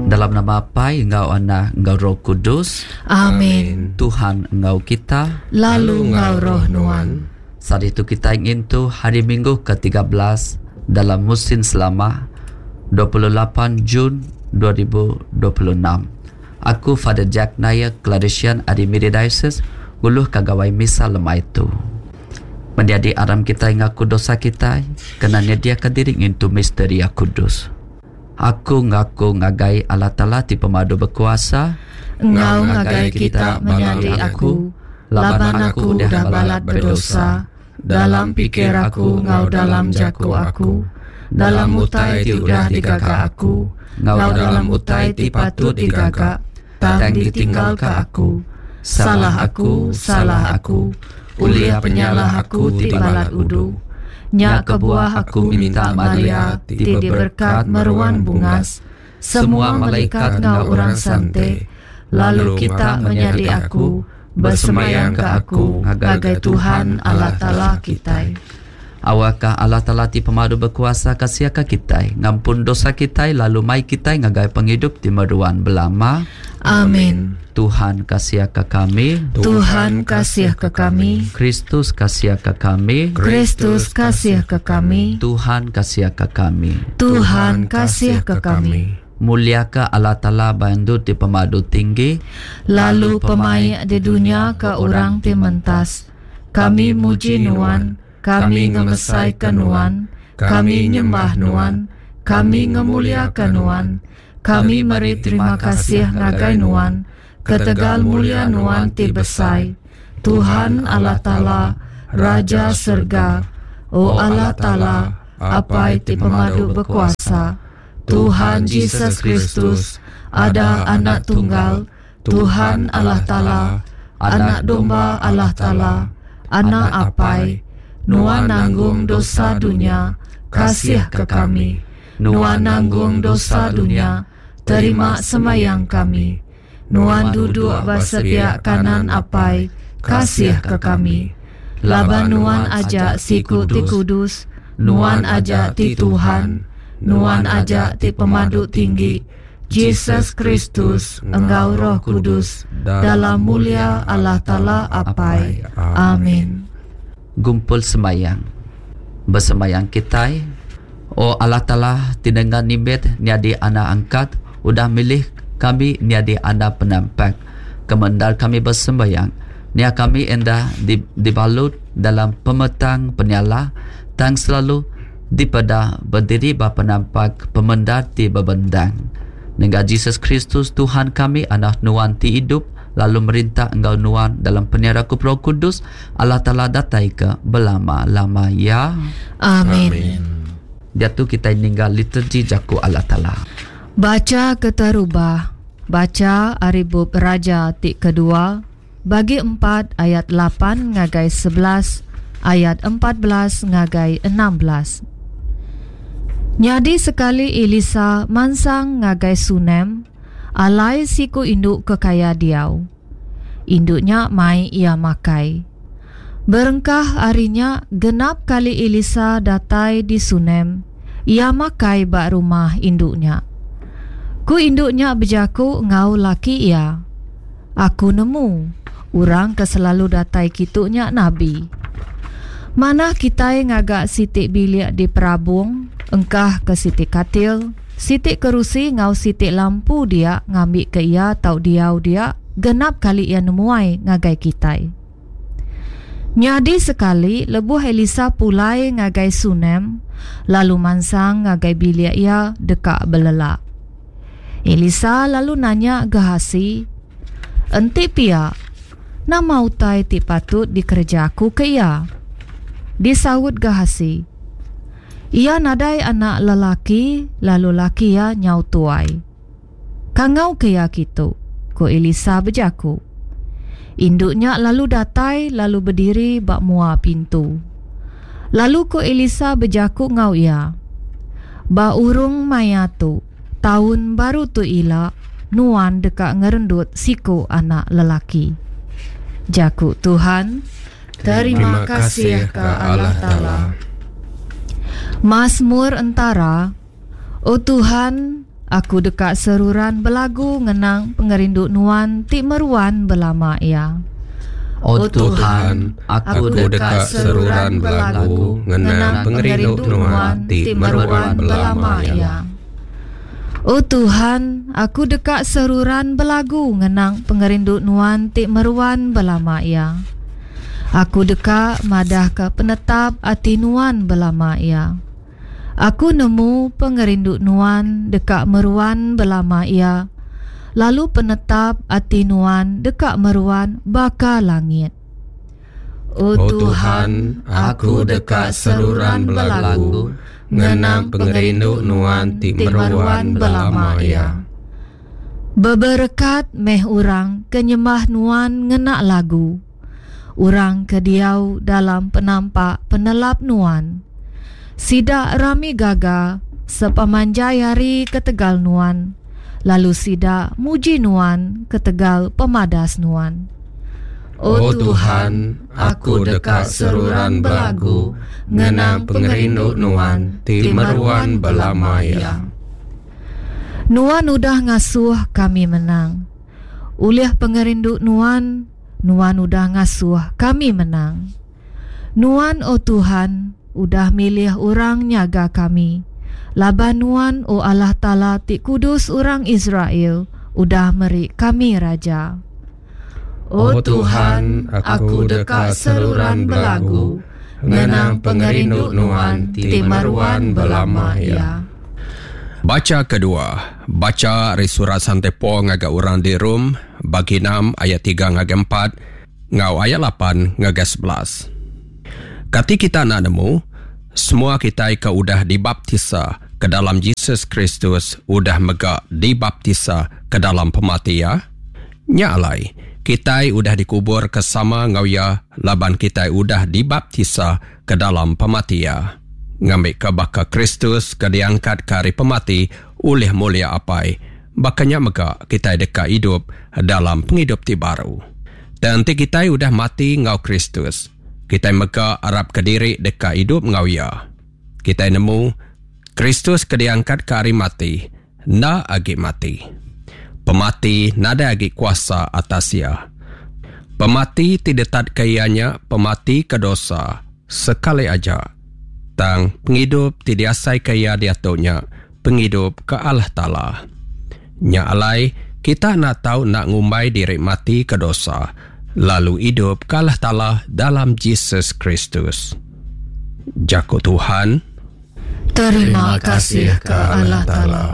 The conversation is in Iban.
Dalam nama Apai enggau Anak enggau Roh Kudus. Amin. Tuhan enggau kita. Lalu enggau roh nuan. Sehari tu kitai ngintu Hari Minggu ke-13 dalam musin selama, 28 Jun 2026. Aku Father Jack Nair, Claretian ari Miri Diocese, nguluhka gawai misa lemai tu. Menyadi aram kitai ngaku dosa kitai kena nyediaka diri ngintu misteri kudus. Aku ngaku ngagai Allah Taala ti Pemadu Bekuasa, Enggau ngagai kita menyadi aku, laban aku udah balat bedosa dalam pikir aku enggau dalam jaku aku, dalam utai ti udah digaga aku, enggau dalam utai ti patut digaga tang ditinggalka aku. Salah aku, salah aku, ulih penyalah aku ti balat udu. Nya kebuah aku minta Maria ti diberkat meruan bungas, semua malaikat enggau orang sante, lalu kita menyadi aku, besemayangka aku ngagai Tuhan Allah Taala kitai. Awakka Allah Taala ti Pemadu Bekuasa kasiaka kitai, ngampun dosa kitai lalu mai kitai ngagai pengidup ti meruan belama. Amin. Tuhan kasiaka kami. Tuhan kasihka kami. Kristus kasiaka kami. Kristus kasihka kami. Tuhan kasiaka kami. Tuhan kasihka kami. Muliaka Allah Taala ba endur ti pemadu tinggi. Lalu pemaik di dunya ke orang ti mentas. Kami muji Nuan, kami ngemesaika Nuan, kami nyembah Nuan, kami ngemuliaka Nuan, kami meri terima kasih ngagai Nuan ketegal mulia Nuan ti besai, Tuhan Allah Taala, Raja serega, O Allah Taala, Apai ti Pemadu Bekuasa, Tuhan Jesus Kristus, ada Anak Tunggal, Tuhan Allah Taala, Anak Domba Allah Taala, Anak Apai, Nuan nanggung dosa dunya, kasihka kami. Nuan nanggung dosa dunya, terima sembahyang kami. Nuan duduk ba sepiak kanan Apai, kasihka kami. Laban Nuan aja siku ti kudus, Nuan aja ti Tuhan, Nuan aja ti Pemadu Tinggi, Jesus Kristus, enggau Roh Kudus, dalam mulia Allah Taala Apai. Amin. Gumpul sembahyang. Besembahyang kitai, O Allah Taala ti nengah nimbit nyadi anak angkat udah milih kami nyadi anak penampak. Kemendar kami besembahyang, nya kami enda dibalut dalam pemetang penyalah tang selalu dipeda bediri ba penampak pemendar ti bebendang. Nengah Jesus Kristus Tuhan kami Anak Nuan ti idup lalu merintah enggau Nuan dalam penyerakup Roh Kudus, Allah Taala datai ke belama-lama iya. Amin. Diatu kitai ningga liturgi jaku Allah Taala. Bacha keterubah, Bacha ari bup Raja ti kedua, bagi empat ayat lapan ngagai 11, ayat 14 ngagai 16. Nyadi sekali Elisa mansang ngagai Sunem, alai siku indu ke kaya diau. Indu nya mai iya makai. Berengkah ari nya genap kali Elisa datai di Sunem, iya makai ba rumah indu nya. Ku indu nya bejaku enggau laki iya, Aku nemu, orang ke selalu datai kitu nya nabi. Manah kitai ngaga siti bilik di perabung, engkahka siti katil, Siti kerusi enggau siti lampu dia ngambika iya tau diau dia genap kali iya nemuai ngagai kitai. Nyadi sekali lebuh Elisa pulai ngagai Sunem lalu mansang ngagai bilik iya deka belelak. Elisa lalu nanya Gehasi, Enti pia, nama utai ti patut dikereja aku ke iya? Disaut Gehasi, Iya nadai anak lelaki lalu laki iya nyau tuai. Kangauka iya kitu, ku Elisa bejaku. Indu nya lalu datai lalu bediri ba mua pintu. Lalu ku Elisa bejaku enggau iya, Ba urung maya tu, taun baru tu ila, nuan deka ngerendut siku anak lelaki. Jaku Tuhan. Terima kasih ke Allah Taala. Mazmur entara, O Tuhan, aku deka seruran belagu ngenang pengerindu Nuan ti meruan belama iya. O Tuhan, aku deka seruran belagu ngenang pengerindu Nuan ti meruan belama iya. O Tuhan, aku deka seruran belagu ngenang pengerindu Nuan ti meruan belama iya. Aku deka madahka penetap ati Nuan belama iya. Aku nemu pengerindu Nuan deka meruan belama iya, lalu penetap ati Nuan deka meruan baka langit. O Tuhan, aku deka seruran belagu ngenang pengerindu Nuan ti meruan belama iya. Beberekat meh orang ke nyembah Nuan ngena lagu, orang ke diau dalam penampak penelap Nuan. Sida rami gaga sepemanjai hari ketegal Nuan, lalu sida muji Nuan ketegal pemadas Nuan. O Tuhan, aku deka seruran belagu ngenang pengerindu Nuan ti meruan belama iya. Nuan udah ngasuh kami menang. Ulih pengerindu Nuan, Nuan udah ngasuh kami menang. Nuan, O Tuhan, udah milih orang nyaga kami, laban Nuan, O Allah Taala ti kudus orang Israel, udah meri kami raja. O Tuhan, aku deka seruran belagu ngenang pengerindu Nuan ti meruan belama iya. Bacha kedua, bacha ari surat Sante Paul ngagai orang di Rome, bagi enam ayat tiga ngagai empat enggau ayat lapan ngagai 11. Kati kita enda nemu, semua kitai ke udah dibaptisa ke dalam Jesus Kristus udah mega dibaptisa ke dalam pemati iya? Nya alai, kitai udah dikuburka sama enggau iya laban kitai udah dibaptisa ke dalam pemati iya, ngambika baka Kristus ke diangkatka ari pemati ulih mulia Apai, baka nya mega kitai deka idup dalam pengidup ti baru. Tang enti kitai udah mati enggau Kristus, kitai mega arapka diri deka idup enggau iya. Kitai nemu, Kristus ke diangkatka ari mati, enda agi mati. Pemati nadai agi kuasa atas iya. Pemati ti ditatka iya nya pemati ke dosa, sekali aja. Tang pengidup ti diasaika iya diatu nya pengidup ke Allah Taala. Nya alai, kita enda tau enda ngumbai diri mati ke dosa, lalu idup ke Allah Taala dalam Jesus Kristus. Jaku Tuhan. Terima kasih ke Allah Taala.